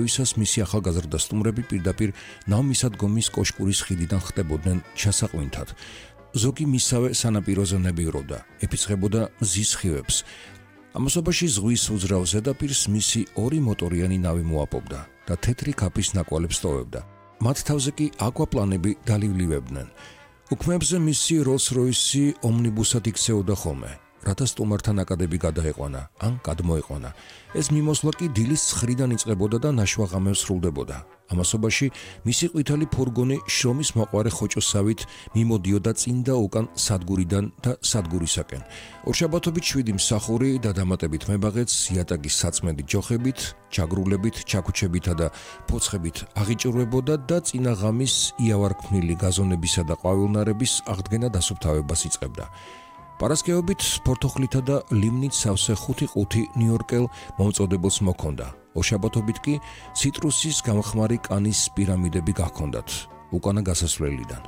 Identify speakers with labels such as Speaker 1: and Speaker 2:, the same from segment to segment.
Speaker 1: ვისაც მისი ახალგაზრდა სტუმრები პირდაპირ ნავმისადგომის კოშკურის ხიდიდან ხდებოდნენ ჩასაყვინთად. ზოგი მისავე სანაპიროზე ნებივრობდა, ეფიცხებოდა მზის სხივებს. ამასობაში ზღვის უძრავ ზედაპირს მისი ორი მოტორიანი ნავი მოაპოვდა და თეთრი ქაფის ნაკვალებს ტოვებდა. მათ თავზე კი აკვაპლანები დალივლივებდნენ. უქმებზე მისი როლს-როისი ომნიბუსად იქცეოდა ხოლმე, რათა სტუმართან აკადები გადაეყვანა ან გადმოეყვანა. ეს მიმოსვლა კი დილის 9-დან იწყებოდა და ნაშვა ღამეს სრულდებოდა. ამასობაში მისი ყვითელი ფურგონი შრომის მოყვარე ხოჭოსავით მიმოდიოდა წინ და უკან სადგურიდან და სადგურისაკენ. ორშაბათობით 7 მსახური და დამატებით მებაღეც იატაკის საწმენდი ჯოხებით, ჩაგრულებით, ჩაქუჩებითა და ფოცხებით აღიჭურვებოდა და წინა ღამის იავარქმნილი გაზონებისა და ყვავილნარების აღდგენა დასუფთავებას იწყებდა. პარასკევობით ფორთოხლითა და ლიმნით სავსე 5 ნიუ-იორკელ მომწოდებელს მოქონდა. ორშაბათობით კი ციტრუსის გამხმარი კანის პირამიდები გაქონდათ უკანა გასასვლელიდან.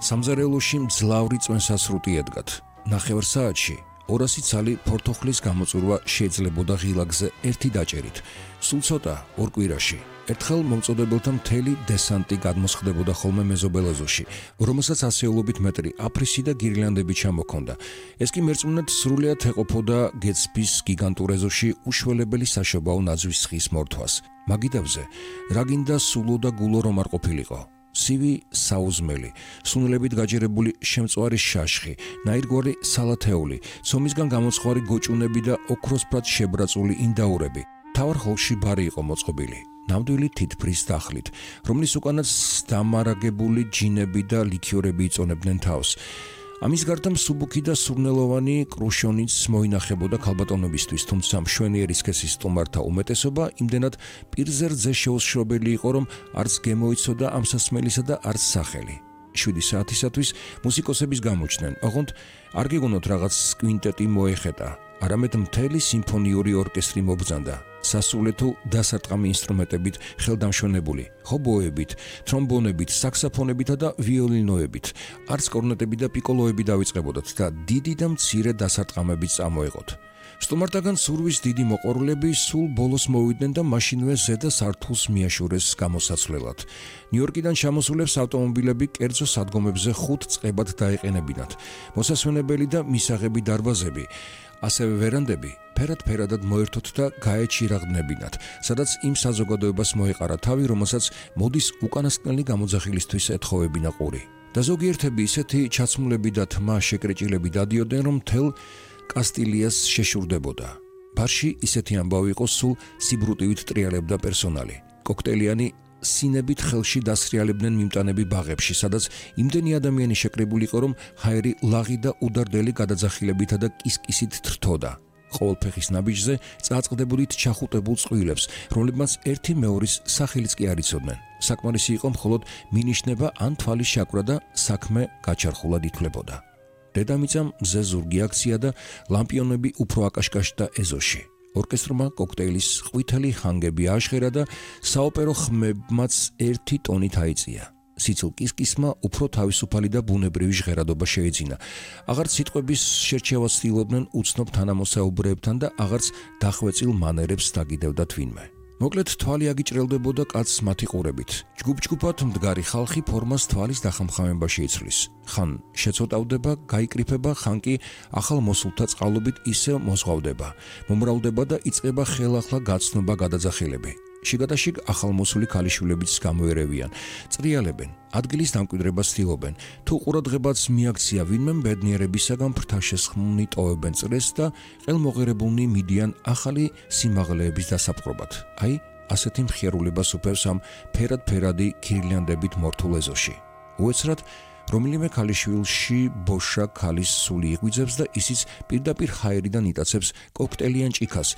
Speaker 1: სამზარეულოში მძლავრი წვენსასრუტი ედგათ. ნახევარ საათში 200 ცალი ფორთოხლის გამოწურვა შეიძლებოდა ღილაკზე ერთი დაჭერით. სულ ცოტა ორ კვირაში. ერთხელ მომწოდებელთა მთელი დესანტი გადმოსხდებოდა ხოლმე მეზობელ ეზოში, რომელსაც ასეულობით მეტრი აფრისი და გირლანდები ჩამოქონდა. ეს კი მერწმუნედ სრულიად ეყოფოდა გეცბის გიგანტურ ეზოში უშველებელი საშობაო ნაძვის ხის მორთვას. მაგიდებზე რა გინდა სულო და გულო რომ არ ყოფილიყო. სივი საუზმელი, სუნელებით გაჯერებული შემწვარი შაშხი, ნაირგვარი სალათეული, ცომისგან გამოცხარი გოჭუნები და ოქროსფრად შებრაწული ინდაურები. თავარ ხოლში ბარი იყო მოწყობილი. ნამდვილი თითფრის დახლით, რომლის უკანაც დამარაგებული ჯინები და ლიქიორები იწონებდნენ თავს. ამის გარდა მსუბუქი და სურნელოვანი კრუშონიც მოინახებოდა ქალბატონობისთვის, თუმცა მშვენიერი სქესის სტუმართა უმეტესობა იმდენად პირზე რძე შეუსშრობელი იყო, რომ არც გემოიცოდა ამ სასმელისა და არც სახელი. 7 საათისათვის მუსიკოსების გამოჩნდნენ, ოღონდ არ გიგონოთ რაღაც კვინტეტი მოეხეტა, არამედ მთელი სიმფონიური ორკესტრი მობრძანდა. სასულეთო დასარტყამი ინსტრუმენტებით ხელდამშვენებული, ჰობოებით, თრომბონებით, საქსაფონებითა და ვიოლინოებით, არც კორნეტები და პიკოლოები დავიწყებოდათ და დიდი და მცირე დასარტყამებით წამოეყოთ. სტუმართაგან სურვის დიდი მოყვარულები სულ ბოლოს მოვიდნენ და მაშინვე ზედა სართულს მიაშურეს გამოსაცვლელად. ნიუ-იორკიდან ჩამოსულებს ავტომობილები კერძო სადგომებზე 5 წყებად დაეყენებინათ. მოსასვენებელი და მისაღები დარბაზები, ასევე ვერანდები ფერად-ფერადად მოერთოთ და გაეჩირაღდნებინათ, სადაც იმ საზოგადოებას მოეყარა თავი, რომელსაც მოდის უკანასკნელი გამოძახილისთვის ეთხოვებინა ყური. და ზოგიერთები ისეთი ჩაცმულები და თმა შეკრეჭილები დადიოდნენ, რომ მთელ კასტილიას შეშურდებოდა. ბარში ისეთი ამბავი იყო სულ სიბრუტივით ტრიალებდა პერსონალი. კოქტეილიანი სინებით ხელში დასრიალებდნენ მიმტანები ბაღებში, სადაც იმდენი ადამიანი შეკრებული იყო, რომ ჰაერი ლაღი და უდარდელი გადაძახილებითა და კისკისით თრთოდა. ყოველ ფეხის ნაბიჯზე წააწყდებოდით ჩახუტებულ წყვილებს, რომლებმაც ერთი მეორის სახელიც კი არ იცოდნენ. საკმარისი იყო მხოლოდ მინიშნება ან თვალის შაკვრა და საქმე გაჩარხულად ითვლებოდა. დედამიწამ მზე ზურგი აქცია და ლამპიონები უფრო აკაშკაშდა ეზოში. ორკესტრმა კოქტეილის ყვითელი ხანგები ააშხერა და საოპერო ხმებმაც ერთი ტონით აიწია. სიცილ კისკისმა უფრო თავისუფალი და ბუნებრივი ჟღერადობა შეეძინა. აღარც სიტყვების შერჩევას ცდილობდნენ უცნობ თანამოსაუბრეებთან და აღარც დახვეწილ მანერებს დაგიდევდა თვინმე. მოკლედ თვალი აგიჭრელდებოდა კაცს მათი ყურებით. ჯგუფ-ჯგუფად მდგარი ხალხი ფორმას თვალის დახამხამებაში იცვლის. ხან შეცოტავდება, გაიკრიფება, ხან კი ახალ მოსულთა წყალობით ისე მოზღვავდება, მომრავლდება და იწყება ხელახლა გაცნობა გადაძახილები. შიგადაშიგ ახალმოსული ქალიშვილებიც გამოერევიან, წრიალებენ, ადგილის დამკვიდრებას ცდილობენ, თუ ყურადღებაც მიაქცია ვინმე ბედნიერებისაგან ფრთაშესხმნი ტოვებენ წრეს და ყელმოღერებულნი მიდიან ახალი სიმაღლეების დასაპყრობად. აი, ასეთი მხიარულებას უფევს ამ ფერად-ფერადი გირლანდებით მორთულ ეზოში. უეცრად რომელიმე ქალიშვილში ბოშა ქალის სული იღვიძებს და ისიც პირდაპირ ჰაერიდან იტაცებს კოქტეილიან ჭიქას,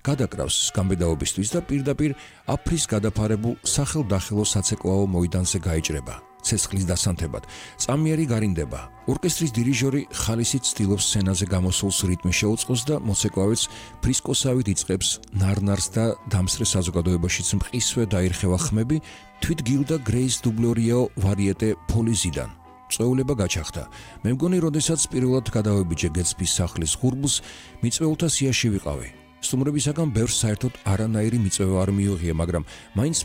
Speaker 1: გადაკრავს გამბედაობისთვის და პირდაპირ აფრის გადაფარებულ სახელდახელო საცეკვაო მოედანზე გაიჭრება. ცეცხლის დასანთებად, წამიერი გარინდება. ორკესტრის დირიჟორი ხალისით ცდილობს სცენაზე გამოსულს რიტმი შეუწყოს და მოცეკვავეც ფრისკოსავით იწყებს ნარნარს და დამსრე საზოგადოებაშიც მყისვე დაირხევა ხმები, თვით გილდა გრეის დუბლორიაო ვარიეტე პოლიზიდან. წვეულება გაჩახდა. მე მგონი, როდესაც პირველად გადავებიჯე გეცბის სახლის ღურბლს, მიწვეულთა სიაში ვიყავი. სტუმრებისაგან ბევრს საერთოდ არანაირი მიწვევა არ მიუღია, მაგრამ მაინც